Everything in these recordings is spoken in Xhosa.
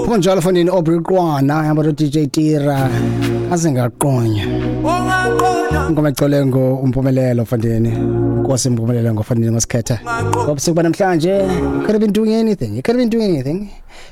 Kunjalo fondini Aubrey Qwana hamba no DJ Tira azingaqonya. Ingoma ecole ngo umpumelelo fondini. Inkosi impumelelo ngofondini ngosikhetha. Ngobusuku banamhlanje could have been doing anything. You could have been doing anything.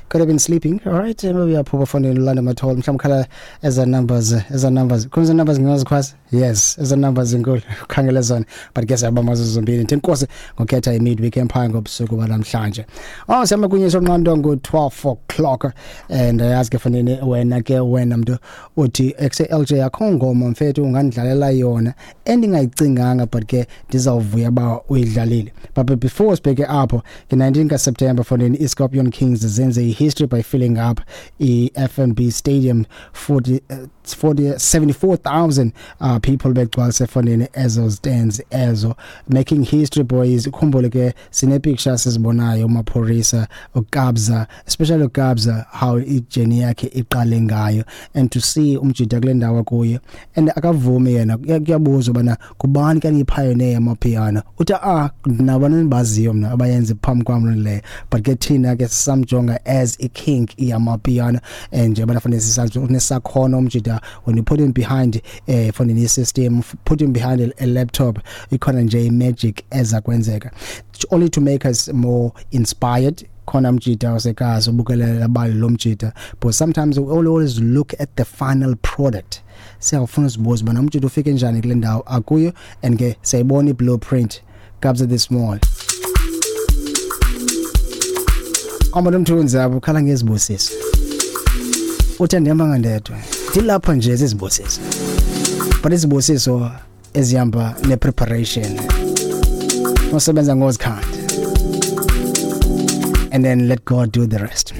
Could have been sleeping. All right. Maybe uyaphupha fondini ulanda mathole mhlawumbe khala eza numbers eza numbers. Khona numbers ngingazikhwaza? Yes, eza numbers inkulu. Ukhangele zona. But ke siyabamba zombini. Ndithi inkosi ngokhetha i-midweek empire ngobusuku banamhlanje. Oh sihamba kunye sonqando ngo-12 o'clock and ayazi ke fanele wena ke wena mntu uthi exe LJ akho ngoma mfethu ungandidlalela yona endingayicinganga but ke ndizawuvuya ba uyidlalile. But before sibheke apho nge-19 kaSeptember fondini iScorpion Kings zenze i-history by filling up i-FNB Stadium 40 40 74,000 people begcwalise fondini ezo stands ezo, making history, boys. Ukhumbule ke sine-picture sizibonayo uMaphorisa, uKabza, especially uKabza, how i-journey yakhe iqale ngayo and to see umjita kule ndawo kuye and akavumi yena. Kuyabuzwa bana kubani kanye i-pioneer yamapiano, uthi ah nabani nibaziyo mna abayenze phambi kwam leyo, but ke thina ke sisamjonga as i-king yamapiano and njengoba nafanele sisazi unesakhono umjita. When you put him behind fonini system, put him behind a laptop, ikhona nje i-magic eza kwenzeka, only to make us more inspired. Khona mjita wasekazi ubukelela bali lo mjita, but sometimes we always look at the final product. Siyawufuna uzibuza ubana umjita ufike njani kule ndawo akuyo and ke siyayibona i-blueprint. Kabza De Small Amalo mthunzi abo ukhala ngezibusiso, uthi andihamba ngandedwa, ndilapha nje zizibusiso, but izibusiso ezihamba ne-preparation, usebenza ngozikhanda and then let God do the rest.